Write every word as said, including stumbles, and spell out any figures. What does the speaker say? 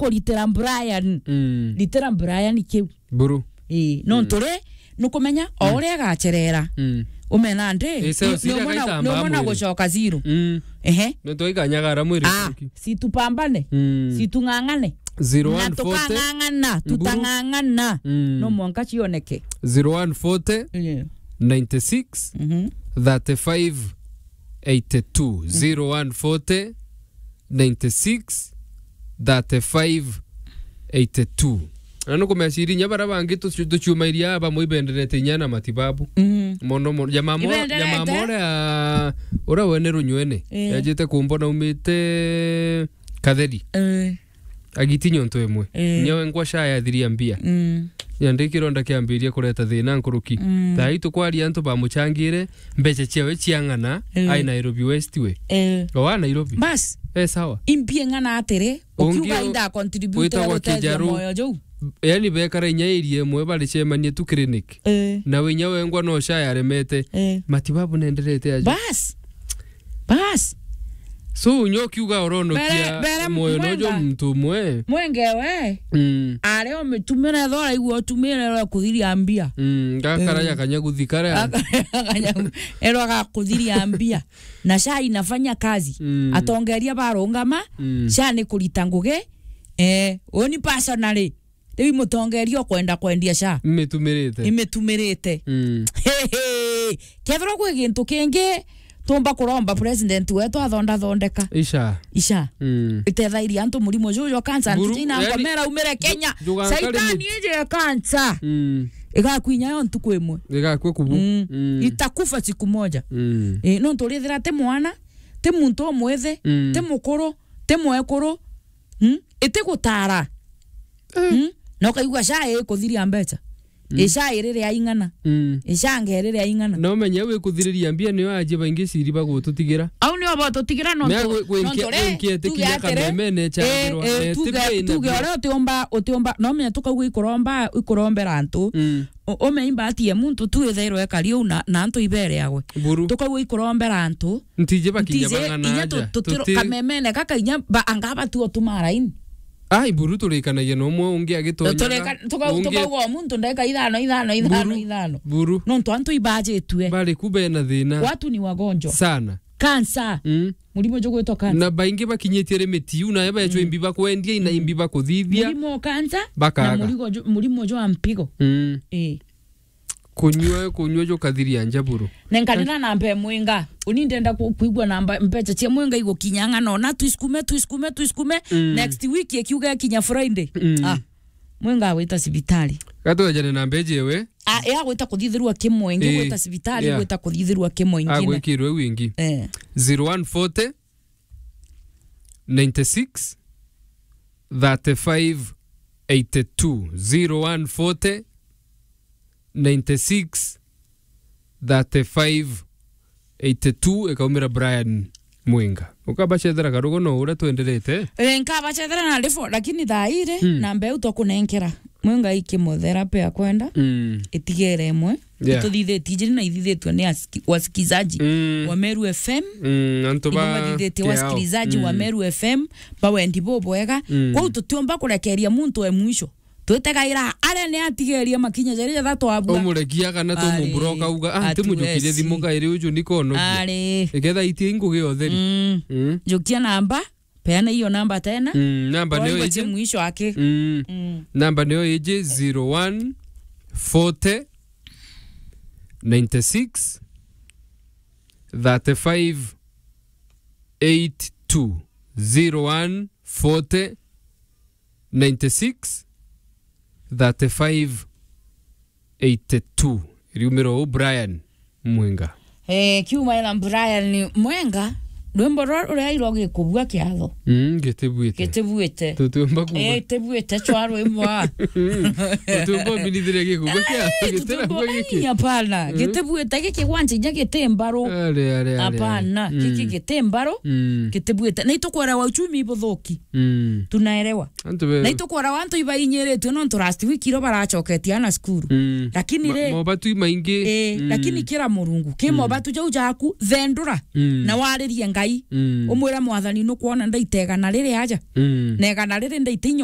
kuritira Brian. Mm. Ritira Brian kiu. Buru. Ii, nontu ri, nukumenya, o uria agacerera. Mm. Umena ndi, Ise ni, Osiria ni umona, agaitamba ni umona mwiri. Gucoka zero. Mm. Ehe. Nontu aikanyagara mwiri. Ah, si tupambane. Mm. Si tung'ang'ane. Na zero one forty. Tukang'ang'ana, Buru. Tutang'ang'ana. Mm. No mwanka cioneke. Zero one forty, Yeah. ninety-six, Mhm. thirty-five, eighty-two. Mm. Zero one forty, ninety-six, thirty-five, eighty-two. Na nukumenya ciri inya baria bangi tuci-, tuciumairia aa bamwe ibenderete inya na matibabu. Mm. Mono mono. Jamaa mo-, Ibenderete. Jamaa mo uria, uria wene Runywene. Eh. Yajite kumbona umite Katheri. Eh. Agiti nyonto imwe. Eh. Nyawe ngwa sha ya thiria mbia. Mm. Nyandi kironda kiambiria kureta thina nkuruki. Mm. Thaa ii tukwaria antu bamuchangire mbeca ciawe cia ng'ana, Eh. ai Nairobi West we. Eh. O wa Nairobi. Bas. Eh, sawa. Impie ng'ana atiri, Ungi ukiuga o-, inda contribute witagwa gutethia Kijaru. Moyo juu. Yani bekara inya area imwe baricemanie tu clinic. Eh. Na we inya wengwa no sha yaremete. Eh. Matibabu nenderete aja. Bas. Bas. So, nyo kiuga oronokia Bere-, bere moyo nojo Mwenga. Muntu umwe. Mwenge we. Mm. Ari omitumire thora igua utumire ro kuthiria mbia. Mm, gakara Eh. ya kanyaguthi kara. Aka-, kanyagu-, erwa ga kuthiria mbia. Na sha inafanya kazi. Mm. Atongeria barungama, Mm. sha ni kurita ngugi. Eh, uni personally. Riu imutongeria ukwenda kwendia sha. Imitumirite. Imitumirite. Mm. Hey, hey. Kethirwa kwi gintu kingi tumba kuromba president wetu athonda thondeka. Isha. Isha. Mm. Itethairie antu murimo juju jwa cancer. Buru, Ntuti ina yani, ngomera umire Kenya. Ju-, jugankari Saitani mit- ije ya cancer. Mm. Igakwinya yo ntuku imwe. Igakwe kubu. Mm. Mm. Itakufa siku moja. Mm. Eh, nontu urithira ti mwana, ti muntu umwithi, Mm. ti mukuru, ti mwekuru. Mm? Iti gutara. Eh. Mm? Na ukaigua sha ikuthiria mbeca. Mm. Isha irire aing'ana. Mm. Isha ngerire aing'ana. Na umenye we kuthiriria mbia niyo aji baingi ciri bagututigira. Au nio botutigira nontu, Mea gwe-, gwe nontu nkia-, ri, gwe nkia tuge etikinya atiri, kameme ne eh, changirwa, eh, ne tuge, tibe ina tuge mbia. Uria utiumba, utiumba, no menya tukauga ikuromba, ikurombera antu. Mm. U-, ume imbatie muntu tu ithairwe ekari uu na, na antu ibereagwe. Buru. Tukauga ikurombera antu. Ntiji bakinya Ntiji, bang'ana inya tu-, aja. tutiro-, Tuti- kamemene gaka inya ba-, anga batu otuma raini. Ai, buru turikanagia na umwe ungi agitonyaga, Turika-, tuka-, ungi tukauga o muntu ndeka ithano, ithano, ithano, Buru, ithano. Buru. Nontu antu ibajitue. Bari ku bena thina. Watu ni wagonjwa. Sana. Cancer. Mm. Murimo jugwitwa cancer. Na baingi bakinyitie limit iu, na eba echwa Mm. imbi bakwendia, ina Mm. imbi bakuthithia. Murimo wa cancer, Bakaga. na murigo ju-, murimo jwa mpigo. Mm. Eh. Kunyua, kunyua jukathiria nja buru. Nenkanira namba e Mwinga. Uni ndenda ku-, kuigua namba, mbeca cia Mwinga igukinya ng'ana ona, tuisukume, tuisukume, tuisukume. Mm. Next week ikiuga ikinya Friday. Mm. Ah, Mwinga agwita cibitari. Gatwejane na mbeji ewe. Ah, ya gwita kuthithirwa kimwe, ingi Eh, gwita cibitari, yeah. gwita kuthithirwa kimwe ingine. Agwikirwe iu ingi. Eh. Zero one forty, ninety-six, thirty-five, eighty-two. Zero one forty, ninety-six, thirty-five, eighty-two, ikaumira Brian Mwinga. Ukabacethera karugo no uria twenderete? Eh, nkabacethera na rifo, lakini thaa iri, Mm. na mbeu twakunenkera. Mwinga i chemotherapy akwenda, Mm. itigere imwe. Yeah. Ituthithitie ijiri na ithithitwe ni asiki-, wasikizaji Mm. wa Meru F M. Mm, antu ba Ibumathithitie kiao. wasikilizaji wa Mm. Meru F M, bawendi bubwega. Mm. Kwou tutiumba kurekeria muntu e mwisho. Twitegaira aria ni atigerie makinya jari jathatu abua. Umurekia kana Ari, tumuburoka uga, "Ah, ntimujukirie hatuwezi. thimu kairi uju ni konogia." Ari. Iketha itie ingugi otheri. Mm. Mm. Jukia namba, peana hiyo namba tena. Mm, namba niyo Waigua iji. Chi mwisho aki. Mm. Mm. Namba niyo iji zero one forty, ninety-six, thirty-five, eighty-two. Zero one forty, ninety-six, thirty-five, eighty-two. Riumiro u Brian Mwenga. Eh, kiuma ena Brian Mwenga, rwimbo rwa ruria irwa gikubua kiatho. Mm, gitibuite. Gitibuite. Tutiumba kuga. Eh, tibuite chwa rwimbo a. Tutiumba uminithiria gikubua kiatho, Eh, gitira tutiumba kuga giki. Ai, hapana. Mm. Gitibuite giki gwanja inya giti mbaru. Are, are, are, are. Hapana, Mm. giki giti mbaru. Mm. Gitibuite. Na itukwera wa uchumi ibuthuki. Mm. Tunaelewa. Antu be- Na itukwera wa antu ibainyiritue nontu last week iro baracoketie ana cukuru. Mm. Lakini Ma-, ri, mobatu imaingi. Eh, Mm. lakini kira Murungu, ki Mm. mobatu jau jaku, thendura, Mm. na waririe Ngai. Mm. Umwire, "Mwathani, nukwona ndaita igana riri aja? Mm. Na igana riri ndaita inya